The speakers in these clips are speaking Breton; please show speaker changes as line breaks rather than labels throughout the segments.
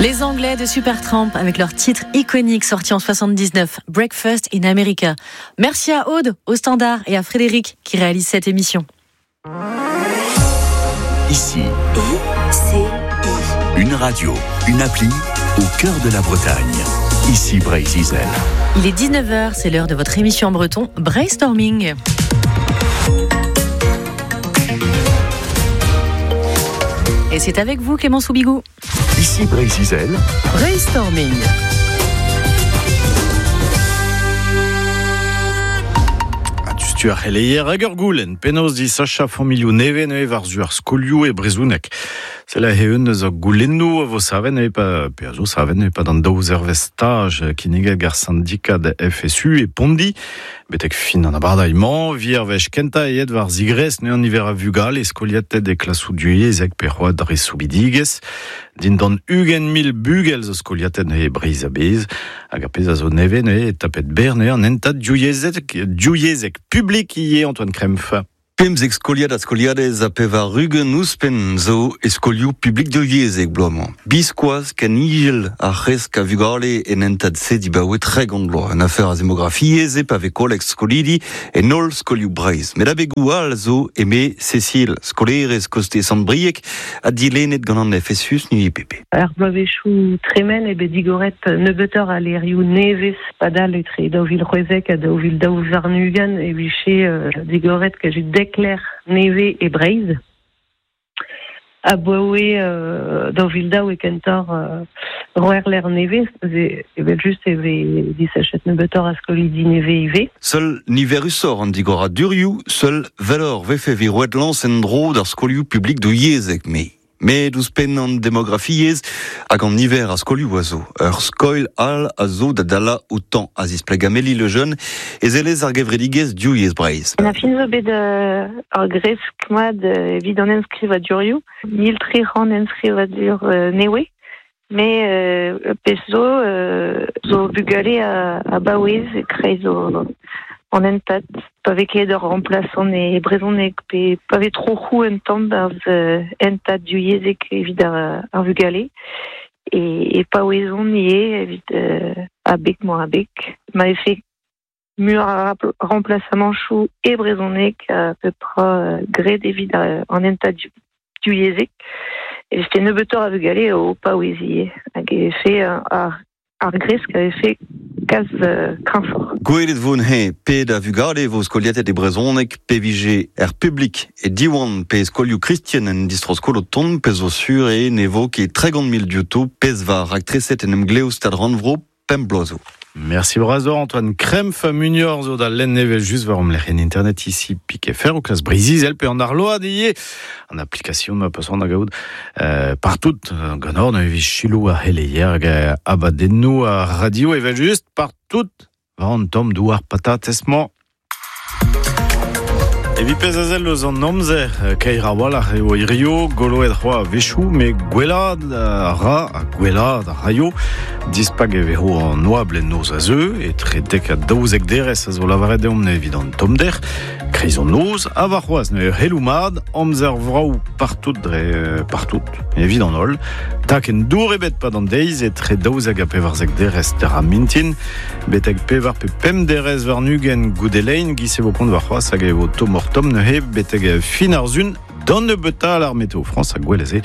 Les Anglais de Supertramp avec leur titre iconique sorti en 79, Breakfast in America. Merci à Aude, au Standard et à Frédéric qui réalise cette émission.
Ici,
I, C, I.
Une radio, une appli au cœur de la Bretagne. Ici Breizh Izel.
Il est 19h, c'est l'heure de votre émission en breton Brainstorming. Et c'est avec vous Clément Soubigou.
Ici Breizh Izel.
Brainstorming.
Tu ar c'heleier hag ur goulenn, penaos disachañ familhoù nevez neuze war-zu ar skolioù e brezhoneg. Sell aze eun eus ar goulennoù a vo savet neuze pa, pe a zo savet neuze pad an daou zervezh staj kinniget gant sindikad FSU e Pondi. Betek fin an abardaez-mañ, vi ar wech kentañ aet war zigres neuze an niver a vugale skoliatet e klasoù divyezhek pe c'hoazh dre soubidigezh. Dindan 20 000 bugel zo skoliatet neuze e Breizh a-bezh. Hag ar pezh a zo nevez neuze e tapet berr neuze an hentad divyezhek publik ivez Antoine Krempf.
15 skoliad ha skoliadez ha 80 ouzhpenn zo e skolioù publik divyezhek bloaz-mañ. Biskoazh ken izel ar c'hresk a vugale en hentad-se dibaoe 30 vloaz. Un afer a zemografiezh eo pa vez kolleg skolidi en holl skolioù Breizh. Met abegoù all zo eme Cécile, skolaerez koste Sant-Brieg ha dilennet gant an FSU SNUIPP.
Ar bloavezhioù tremen eo bet digoret nebeutoc'h a levrioù nevez padal etre 2016 ha 2022 e vije digoret kazi dek lec'h nevez e Breizh. Abaoe 2002 e kentoc'h roer lec'h nevez, evel-just e vez disachet nebeutoc'h a skolidi nevez ivez.
Seul niverusoc'h an digoradurioù, seul welloc'h 'vefe evit roet lañs en-dro d'ar skolioù publik divyezhek me. Met ouzhpenn an demografiezh hag an niver a skolioù a zo, ur skoilh all a zo da dalañ outañ, a zispleg Amélie Lejeune, ezelez ar gevredigezh Div Yezh Breizh.
An fin zo bet ur gresk mat evit an enskrivadurioù, 1300 enskrivadur nevez, met pezh zo zo bugale a-baouez e-kreiz an hentad, pa vez ket ur remplaçant e brezhoneg pe pa vez troc'hoù un tamm barzh hentad divyezhek evit ar vugale e paouezont ivez evit abeg-mañ-abeg. Ma vefe muioc'h a remplaçamanchoù e brezhoneg pep tra graet evit an hentad divyezhek e vefe nebeutoc'h a vugale o paouez ivez hag e vefe ar gresk a vefe kalz kreñvoc'h.
Gwelet vo neuze pet a vugale vo skoliatet e brezhoneg pe vije er publik e Diwan pe e skolioù kristen en distro-skol o tont, pezh zo sur eo ne vo ket 30 000 diouto pezh war raktreset en emglev Stad-Rannvro pemp bloaz zo.
Merci bras Antoine Krempf munior zo da lenn evel just war lec'hienn internet ici pik FR o klas Breizh-Izel pe an arload ivez. An application ma peus c'hoant da gaout partout ganeoc'h neuze evit selaou ar c'heleier hag abadennoù ar radio evel just partout war an tamm douar patatez-mañ. Evit pezh a sell eus an amzer, kaer a-walc'h eo hirio, goloet c'hoazh a-wechoù, met gwellaat a ra ha gwellaat a raio. Dispak e vezo an oabl en noz a zeu, etre 10 ha 12 derez a zo lavaret deomp evit an tommder. Kreiz an noz, ha warc'hoazh neuze c'heloù mat, amzer vrav partout dre partout, evit an holl. Takenn dour ebet 'pad an deiz, etre 12 ha 14 derez d'ar mintin. Betek pevar pe pemp derez warn-ugent goude lein, giz e vo kont warc'hoazh hag e vo tommoc'h-tomm neuze betek fin ar sun d'an nebeutañ ar Météo France ha gwell se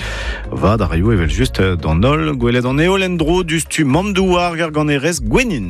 vad a raio evel-just d'an holl gwelet an heol en-dro diouzhtu mamm-douar gar ganerez Gwennin.